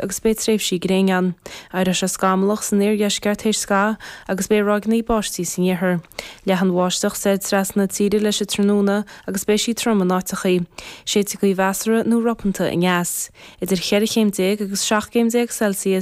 Agus beidh tréimhsí gréine ann. Éireoidh sé scamallach san iardheisceart théis scaitheamh agus beidh ráigeanna báistí san iarthar. Leathfaidh an bháisteach soir trasna na tíre leis an tráthnóna agus beidh sí trom in áiteachaí. Séidfidh gaoth mheasartha nó ropanta aneas. Idir cheithre chéim déag agus 17 gcéim Celsius.